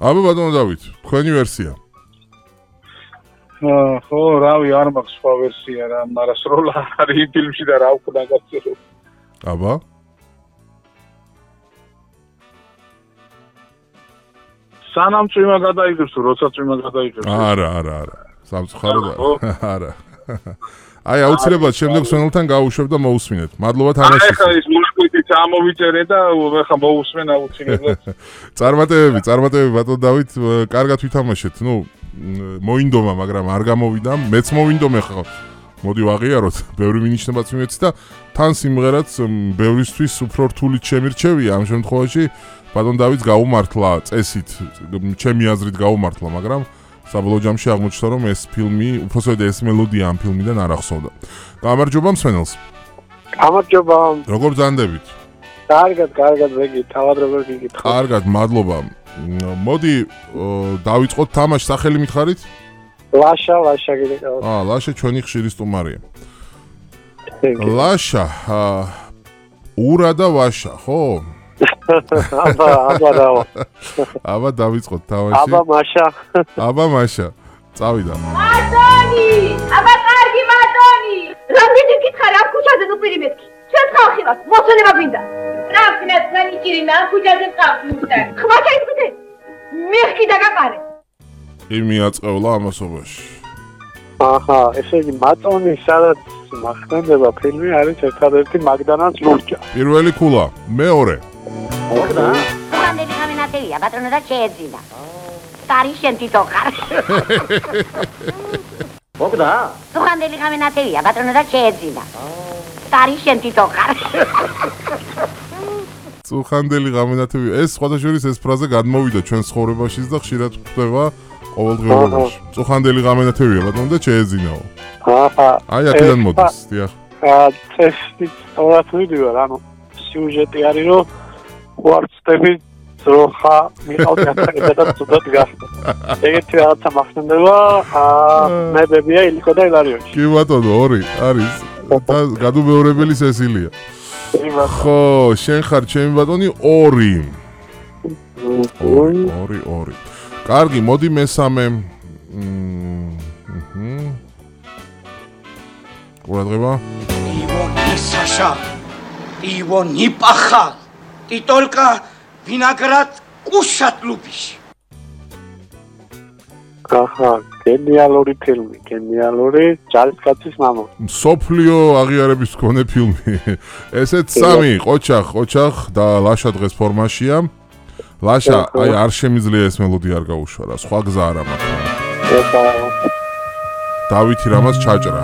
აბა ბატონო დავით, თქვენი ვერსია. ხო, რავი, არ მაქვს სხვა ვერსია რა, მაგრამ სროლა არის ფილმში და რა უკვე დაგაცილო. აბა. სანამ წვიმა გადაიღებს თუ როცა წვიმა გადაიღებს. არა. სამწუხარო და არა. აი აუცილებლად შემდეგ სვენელთან გავუშვებ და მოусმინეთ. მადლობა თამაშის. ახლა ის მუსიკით ამოვიწერე და ახლა მოусმენ აუცილებლად. წარმატებები ბატონ დავით, კარგად ვითამაშეთ. ნუ მოინდომა, მაგრამ არ გამოვიდა. მეც მოვინდომა ხა. მოდი ვაღიაროთ, ბევრი მინიშნებაც მიმეც და თან სიმღერაც ბევრისთვის უფრო რთულით შემირჩევია ამ შემთხვევაში. ბატონ დავითს გაუმართლა წესით, ჩემი აზრით გაუმართლა, მაგრამ საბოლოო ჯამში აღმოჩნდა, რომ ეს ფილმი, უბრალოდ ეს მელოდია ამ ფილმიდან არ ახსოვდა. გამარჯობა მსმენელს. გამარჯობა. როგორ ბრძანდებით? კარგად, ვეგი, თავად როგორ გიგით? კარგად, მადლობა. მოდი დავიწყოთ თამაშს, სახელი მითხარით? ლაშა გიგეკავ. ლაშა ჩვენი ხშირი სტუმარია. ლაშა, ურა და ვაშა, ხო? აბა დავიწყოთ თამაში. აბა მაშა. წავიდა. მატონი! აბა კარგი მატონი! რამდენი გითხარ ამ ქუჩაზე თუ პირი მეთქი? ჩვენ ხალხი ვართ, მოსვენება გვინდა. ტრაფკნას განიჭირინა ამ ქუჩაზე წავდი უსტან. ხმა ჩაიწვიდე. მეხკი დაგაყარე. იმი აწყევლა ამასობაში. აჰა, ესე იგი მატონი სადაც მახსენდება ფილმი არის ერთადერთი მაგდანაც ლურჯა. პირველი ქულა, მეორე. მოგდა? ხანდელი გამენათევია, ბატონო და შეეძინა. კარი შენ თვითო ხარ. მოგდა? ხანდელი გამენათევია, ბატონო და შეეძინა. კარი შენ თვითო ხარ. წუხანდელი გამენათევია. ეს სხვადასხვა ეს ფრაზა გადმოვიდა ჩვენ ცხოვრებაშიც და ხშირად ხდება ყოველდღიურობაში. წუხანდელი გამენათევია, ბატონო და შეეძინაო. აჰა. აი აქედან მოდის, დიახ. წესი სწორად ვიდივარ, ანუ სიუჟეტი არის რომ ვარცდები ძროხა მიყავდა და ცუდად გახდა. ეგეთი რაღაცა მახსენდება, მებებია ილიკო და ილარიონი. კი ბატონო, ორი არის. და გადუმეორებელი სესილია. ხო, შენ ხარ ჩემი ბატონი 2. 2. კარგი, მოდი მესამე. ყურადღება. ივონი საშა. ივონი პახა. И только виноград кушать любишь. აჰა, გენიალური ფილმი, გენიალური ჯარისკაცის მამა. სოფლიო აღიარების მქონე ფილმი. ესეც 3, ყოჩახ და ლაშა დღეს ფორმაშია. ლაშა, აი არ შემიძლია ეს მელოდია არ გაუშვა რა, სხვა გზა არ აქვს. დავითი რამაც ჩაჭრა.